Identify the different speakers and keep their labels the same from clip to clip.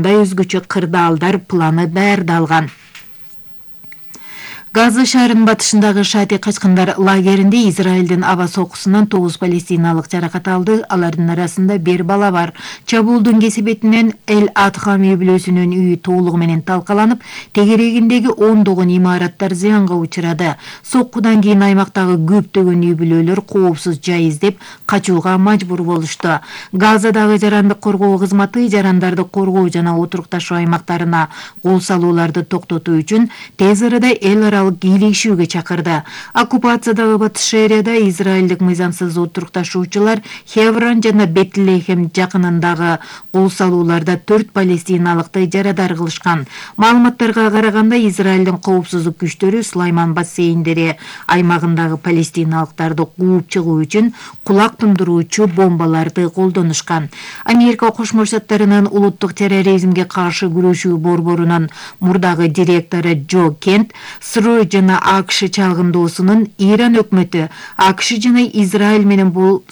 Speaker 1: өзгөчө кырдаалдар планы даярдалган. Газа шаарынын батышындагы Шати качкындар лагеринде Израилдин аба сокусунан 9 палестиналык жаракат алды. Алардын арасында 1 бала бар. Чабуулдун кесебетинен Эль-Адха меблөсүнүн үйү толугу менен талкаланып, тегерегиндеги ондогон имараттар зыянга учурады. Соккудан кийин аймактагы көптөгөн үй бүлөлөр коопсуз жай издеп качууга мажбур болушту. Газадагы жарандык коргоо кызматы жарандарды коргоо жана отурукташуу аймактарына кол салууларды токтотуу үчүн тез арада эл аралык бийлешүүгө чакырды. Оккупациядагы батыш Шерияда израилдик мыйзамсыз отурукташуучулар Хеврон жана Бетлехем жакынындагы кол салууларда 4 палестиналыкты жарадар кылышкан. Маалыматтарга караганда Израилдин коопсуздук күчтөрү Сулайман бассейндери аймагындагы палестиналыктарды кууп чыгуу үчүн кулак тундуруучу бомбаларды колдонушкан. Америка Кошмо Штаттарынын улуттук терроризмге каршы күрөшүү борборунун мурдагы директору Джо Кент Сырой жана АКШ чалгындоосунун Иран өкмөтү АКШ жана Израиль менен бул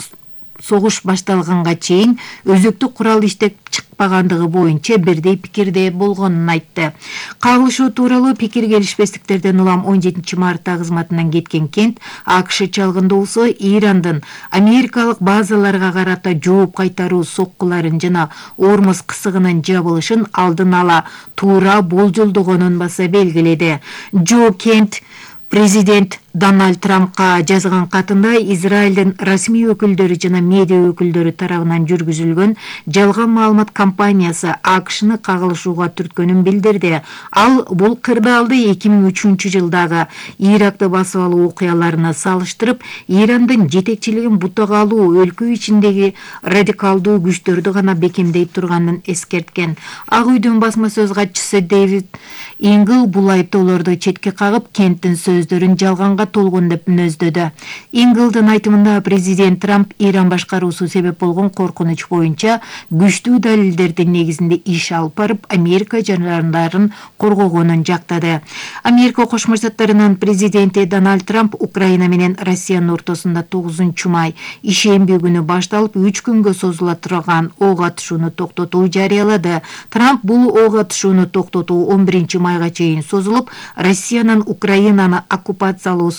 Speaker 1: согуш башталганга чейин өзөктүк курал иштеп чыкпагандыгы боюнча бирдей пикирде болгонун айтты. Кагылышуу тууралуу пикир келишпестиктерден улам 17 мартта кызматынан кеткен Кент АКШ чалгындоосу Ирандын америкалык базаларга карата жооп кайтаруу соккуларын жана Ормуз кысыгынын жабылышын алдын ала туура болжолдогонун баса белгиледи. Джо Кент президент Дональд Трампка жазган катында Израилдин расмий өкүлдөрү жана медиа өкүлдөрү тарабынан жүргүзүлгөн жалган маалымат кампаниясы АКШны кагылышууга түрткөнүн билдирди. Ал бул кырдаалды 2003 жылдагы Иракты басып алуу окуяларына салыштырып, Ирандын жетекчилигин бутага алуу өлкө ичиндеги радикалдуу күчтөрдү гана бекемдей турганын эскерткен. Ак үйдүн басма сөз катчысы Дэвид Ингл бул айыптоолорду четке кагып, Кенттин сөздөрүн жалганга толгон деп мүнөздөдү. Инглдын айтымында президент Трамп Иран башкаруусу себеп болгон коркунуч боюнча күчтүү далилдердин негизинде иш алып барып, Америка жарандарын коргогонун жактады. Америка Кошмо Штаттарынын президенти Дональд Трамп Украина менен Россиянын ортосунда 9 май ишемби күнү башталып 3 күнгө созула турган ок атышууну токтотуу жарыялады. Трамп бул ок атышууну токтотуу 11 майга чейин созулуп, Россиянын Украинаны оккупациялоосун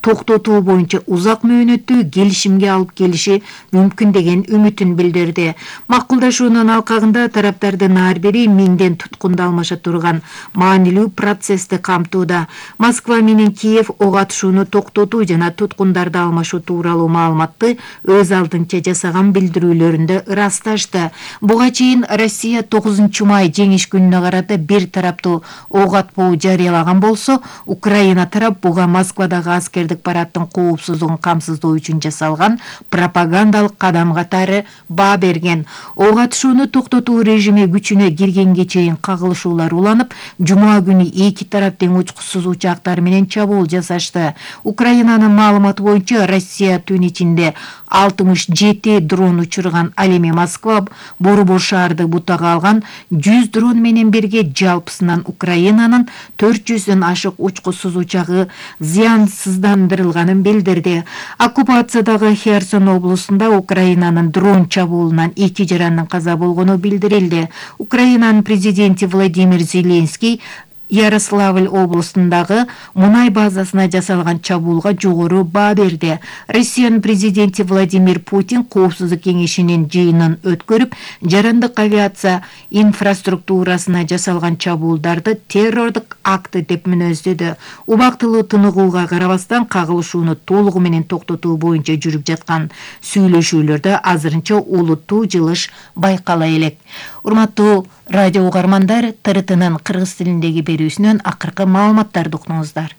Speaker 1: токтотуу боюнча узак мөөнөттүү келишимге алып келиши мүмкүн деген үмүтүн билдирди. Макулдашуунун алкагында тараптардын ар бири 1000ден туткунду алмаша турган маанилүү процессти камтууда. Москва менен Киев ок атышууну токтотуу жана туткундарды алмашуу тууралуу маалыматты өз алдынча жасаган билдирүүлөрүндө ырасташты. Буга чейин Россия 9 май жеңиш күнүнө карата бир тараптуу ок атпоо жарыялаган болсо, Украина тарап буга Москвадагы аскердик парадтын коопсуздугун камсыздоо үчүн жасалган пропагандалык кадам катары баа берген. Ок атышууну токтотуу режими күчүнө киргенге чейин кагылышуулар уланып, жума күнү эки тарап тең учкусуз учактар менен чабуул жасашты. Украинанын маалыматы боюнча Россия түн ичинде 67 дрон учурган. Ал эми Москва Борбор шаарды бутага алган 100 дрон менен бирге жалпысынан Украинанын 400дөн ашык учкусуз учагы зыянсыздандырылганын билдирди. Оккупациядагы Херсон облусунда Украинанын дрон чабуулунан 2 жарандын каза болгону билдирилди. Украинанын президенти Владимир Зеленский Ярославль облусундагы мунай базасына жасалган чабуулга жогору баа берди. Россиянын президенти Владимир Путин коопсуздук кеңешинин жыйынын өткөрүп, жарандык авиация инфраструктурасына жасалган чабуулдарды террордук акты деп мүнөздөдү. Убактылуу тыныгууга карабастан кагылышууну толугу менен токтотуу боюнча жүрүп жаткан сүйлөшүүлөрдө азырынча олуттуу жылыш байкала элек. Урматтуу радио угармандар, ТРТнын кыргыз тилиндеги берүүсүнөн акыркы маалыматтарды уктуңуздар.